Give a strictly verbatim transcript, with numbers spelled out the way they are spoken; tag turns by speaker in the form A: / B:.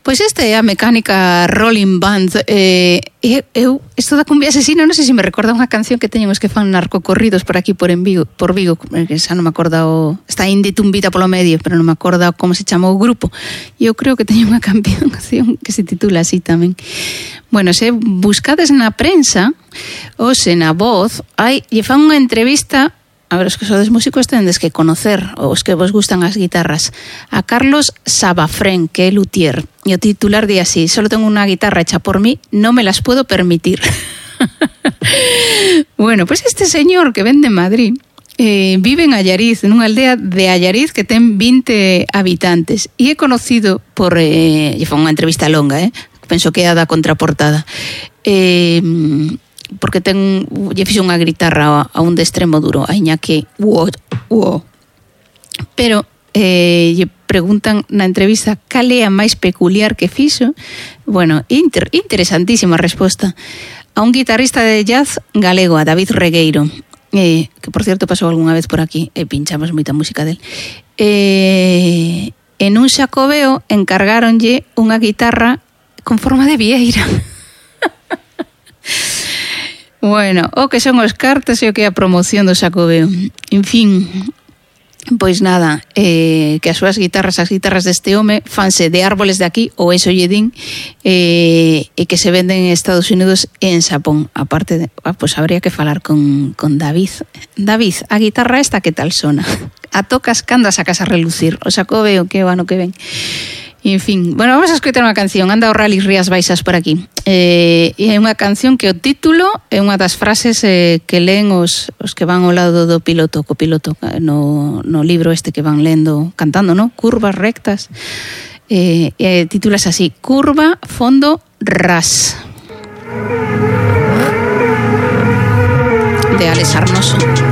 A: Pois esta é a Mecánica Rolling Band. eh, eu, isto da cumbia asesina, non sei se me recorda unha canción que teñen os que fan narcocorridos por aquí por en Vigo, por Vigo, que xa non me acorda o, está Indi Tumbita polo medio, pero non me acorda como se chama o grupo. E eu creo que teñen unha canción que se titula así tamén. Bueno, se buscades na prensa ou se na Voz, hai, lle fan unha entrevista. A ver, os que sodes músicos tendes que conocer, os que vos gustan as guitarras, a Carlos Sabafrén, que é luthier, e o titular di así: solo tengo unha guitarra hecha por mí, no me las puedo permitir. Bueno, pues este señor que vende en Madrid eh, vive en Allariz, nunha aldea de Allariz que ten vinte habitantes, e é conocido por, eh, lle foi unha entrevista longa, eh? Penso que é a da contraportada, eh, porque ten, lle fixo unha guitarra a un de extremo duro, a Iñaki uo, uo. Pero eh, lle preguntan na entrevista cal é a máis peculiar que fixo. Bueno, inter, interesantísima resposta. A un guitarrista de jazz galego, a David Regueiro, eh, que por cierto pasou algunha vez por aquí e pinchamos moita música del. Eh, en un xacobeo encargáronlle unha guitarra con forma de vieira. Bueno, o que son os cartas e o que é a promoción do Xacobeo. En fin, pois nada, eh, que as súas guitarras, as guitarras deste home, fanse de árboles de aquí, ou eso lle din, eh, e que se venden en Estados Unidos e en Xapón. Aparte, de, ah, pois habría que falar con, con David. David, a guitarra esta que tal sona? A tocas cando a sacas a relucir? O Xacobeo que o ano que ven. En fin, bueno, vamos a escoitar unha canción. Anda o Rally Rías Baixas por aquí. Eh, e é unha canción que o título é unha das frases eh, que leen os, os que van ao lado do piloto, copiloto, no, no libro este que van lendo, cantando, ¿no? Curvas rectas. Eh, eh, titulas así: Curva, fondo, ras. De Alex Arnoso.